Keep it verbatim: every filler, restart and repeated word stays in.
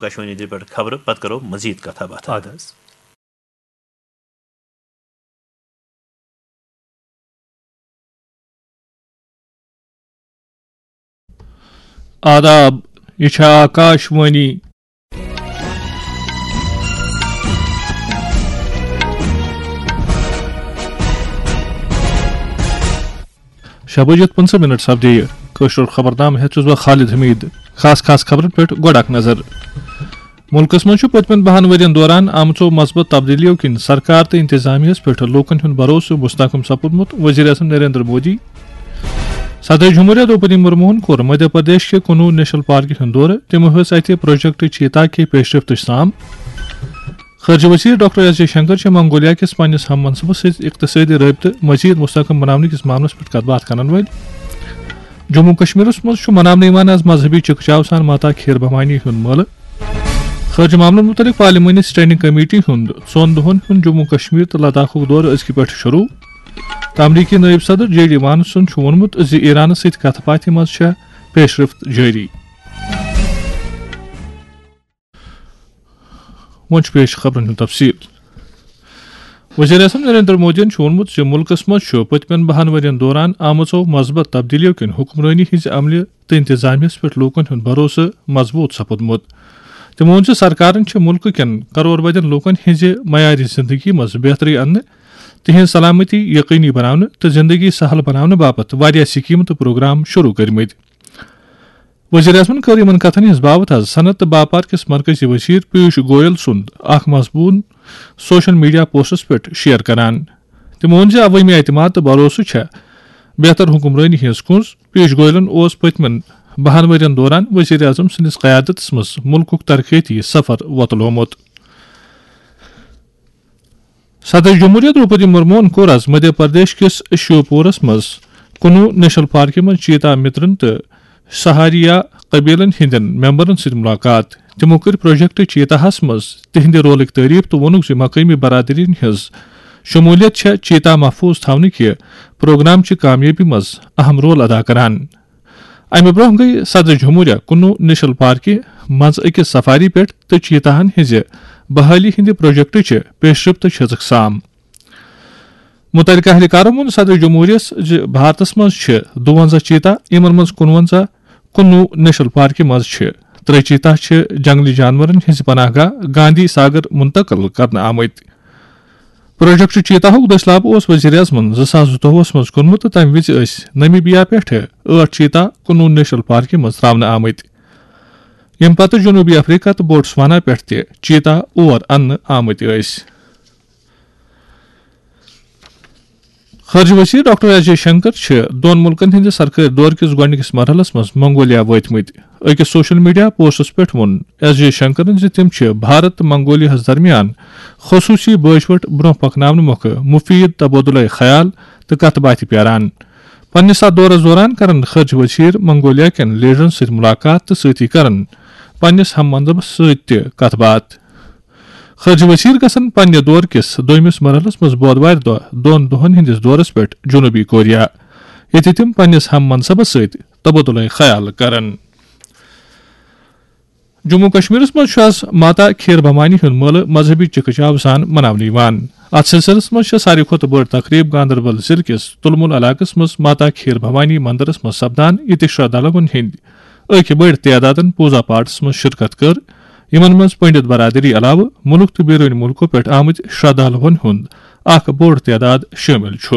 آکاشوانی دِلہِ پٮ۪ٹھ خبرٕ، پتہٕ کرو مزید کتھا باتھا۔ اَدٕ حظ۔ آداب، یہِ چھےٚ آکاشوانی۔ شےٚ بجے پٕنٛژٕہ منٹ سپدے یہِ۔ کٲشُر خبرنامہٕ ہٮ۪تھ چھُس بہٕ خالد حمید۔ خاص خاص خبرن پٮ۪ٹھ گۄڈٕ اکھ نظر۔ مُلکَس منٛز چھُ پٔتمٮ۪ن بَہَن ؤرۍ یَن دوران آمژو مثبت تبدیلیو کِنۍ سرکار تہٕ انتظامیہَس پٮ۪ٹھ لوٗکَن ہُنٛد بھروسہٕ مستحکم سپُدمُت، وزیر اعظم نریندر مودی۔ صدر جمہوریہ دروپدی مرموہن کوٚر مدھیہ پردیش کہِ کُنوُہ نیشنل پارکہِ ہُنٛد دورٕ، تِمو ہیٚژ اَتہِ پروجیکٹ چیتا کہِ پیشرفتٕچ سام۔ خارجہ وزیر ڈاکٹر ایس جے شنکر چھِ منگولیا کِس پننِس ہم منصبس سۭتۍ اقتصٲدی رٲبطہٕ مزید مستحکم بناونہٕ کِس معاملس پٮ۪ٹھ کتھ باتھ کرن وٲلۍ۔ جموں کشمیرس منٛز چھُ مناونہٕ یِوان از مذہبی چکہ چاو سان ماتا کھیر بھوانی ہُنٛد مٲلہٕ۔ خارجہ معاملن متعلق پارلیمانی سٹینڈنگ کمیٹی ہُنٛد ژۄن دۄہن ہُنٛد جموں کشمیر تہٕ لداخُک دورٕ أزکہِ پٮ۪ٹھٕ شروع۔ تہٕ امریکی نٲیِب صدر جے ڈی وانسن چھُ ووٚنمُت زِ ایرانس سۭتۍ کتھ باتھِ منٛز چھےٚ پیشرفت جٲری۔ وۄنۍ چھُ پیش خبرن ہُنٛد تفصیل۔ وزیر اعظم نریندر مودیَن چھُ ووٚنمُت زِ مُلکَس منٛز چھُ پٔتمٮ۪ن بَہَن ؤرۍ یَن دوران آمژو مثبت تبدیلیو کِنۍ حکمرٲنی ہٕنٛزِ عملہِ تہٕ انتظامیہَس پٮ۪ٹھ لوٗکَن ہُنٛد بھروسہٕ مضبوٗط سپُدمُت۔ تٔمۍ ووٚن زِ سرکارَن چھِ مُلکہٕ کٮ۪ن کرور بدٮ۪ن لوٗکَن ہٕنٛزِ معیارِ زِندگی منٛز بہتری اَننہٕ، تِہنٛز سلامتی یقینی بناونہٕ تہٕ زِندگی سہل بناونہٕ باپتھ واریاہ سکیمہٕ تہٕ پروگرام شروع کٔرمٕتۍ۔ وزیر اعظمن کٔر یِمن کتھن ہٕنٛز باوتھ از صنعت تہٕ باپار کِس مرکزی وزیر پیوش گویل سُنٛد اکھ مضموٗن سوشل میڈیا پوسٹس پٮ۪ٹھ شیئر کران۔ تٔمۍ ووٚن زِ عوٲمی اعتماد تہٕ بھروسہٕ چھےٚ بہتر حکمرٲنی ہٕنٛز کُنٛز۔ پیوش گویلن اوس پٔتمٮ۪ن بَہَن ؤرۍ یَن دوران وزیر اعظم سٕنٛدِس قیادتس منٛز مُلکُک ترقیتی سفر وۄتلومُت۔ صدر جمہوریہ دروپدی مرموہن کوٚر از مدھیہ پردیش کِس شیوپورس منٛز کُنوُہ نیشنل پارکہِ منٛز چیتا مترن تہٕ سہاریا قبیلن ہٕنٛدٮ۪ن ممبرن سۭتۍ ملاقات۔ تِمو کٔر پروجیکٹ چیتاہس منٛز تِہنٛدِ رولٕکۍ تعریف تہٕ ووٚنُکھ زِ مقٲمی برادری ہٕنٛز شمولیت چھےٚ چیتا محفوظ تھاونہٕ کہِ پروگرام چہِ کامیٲبی منٛز اہم رول ادا کران۔ امہِ برونٛہہ گٔیہِ صدر جمہوریہ کُنوُہ نیشنل پارکہِ منٛز أکِس سفاری پٮ۪ٹھ تہٕ چیتاہن ہٕنٛزِ بحالی ہٕنٛدِ پروجیکٹٕچہِ پیشرفت چھٔژٕکھ سام۔ متعلقہ اہلکارو ووٚن صدر جمہوریہ یَس زِ بھارتس منٛز چھِ دُوَنزاہ چیتا، یِمن منٛز کُنوَنزاہ کُنوُہ نیشنل پارکہِ منٛز چھِ۔ ترٛےٚ چیتا چھِ جنگلی جانورن ہٕنٛزِ پناہ گاہ گاندھی ساگر منتقل کرنہٕ آمٕتۍ۔ پروجیکٹ چیتاہُک دٔسلاب اوس وزیر اعظمن زٕ ساس زٕتووُہس منٛز کوٚرمُت تہٕ تَمہِ وِزِ ٲسۍ نمیبیا پٮ۪ٹھٕ ٲٹھ چیتا کُنوُہ نیشنل پارکہِ منٛز ترٛاونہٕ آمٕتۍ، ییٚمہِ پتہٕ جنوٗبی افریقہ تہٕ بوٹسوانا پٮ۪ٹھ تہِ چیتا اور اننہٕ آمٕتۍ ٲسۍ۔ خارجہ وزیر ڈاکٹر ایس جے شنکر چھِ دۄن مُلکن ہٕنٛدِ سرکٲرۍ دورٕ کِس گۄڈٕنِکِس مرحلس منٛز منگولیا وٲتمٕتۍ۔ أکِس سوشل میڈیا پوسٹس پٮ۪ٹھ ووٚن ایس جے شنکرن زِ تِم چھِ بھارت تہٕ منگولیا ہس درمیان خصوٗصی بٲشوٹ برونٛہہ پکناونہٕ مۄکھٕ مُفیٖد تبادلہٕ خیال تہٕ کتھ باتھِ پیاران۔ پننِس اتھ دورس دوران کرن خارجہ وزیر منگولیا کٮ۪ن لیڈرن سۭتۍ ملاقات تہٕ سۭتی کرن پننِس ہم منصبس سۭتۍ تہِ کتھ باتھ۔ خارجہ وزیر گژھن پننہِ دورٕ کِس دوٚیمِس مرحلس منٛز بودوارِ دۄہ دۄن دۄہن ہٕنٛدِس دورس پٮ۪ٹھ جنوٗبی کوریا، ییٚتہِ تِم پننِس ہم منصبس سۭتۍ تبادلہٕ خیال کرن۔ جموں کشمیرس منٛز چھُ از ماتا کھیر بھوانی ہُنٛد مٲلہٕ مذہبی چکہ چاو سان مناونہٕ یِوان۔ اتھ سلسلس منٛز چھےٚ ساروی کھۄتہٕ بٔڑ تقریب گاندربل ضلعہٕ کِس تُلمُل علاقس منٛز ماتا کھیر بھوانی مندرس منٛز سپدان، ییٚتہِ شردھالوَن ہٕنٛدۍ أکۍ بٔڑۍ تعدادن پوٗزا پاٹھس منٛز شرکت کٔر، یِمن منٛز پنڈت برادری علاوٕ مُلک تہٕ بیرونِ مُلکو پٮ۪ٹھ آمٕتۍ شردھالوَن ہُنٛد اکھ بوٚڑ تعداد شٲمِل چھُ۔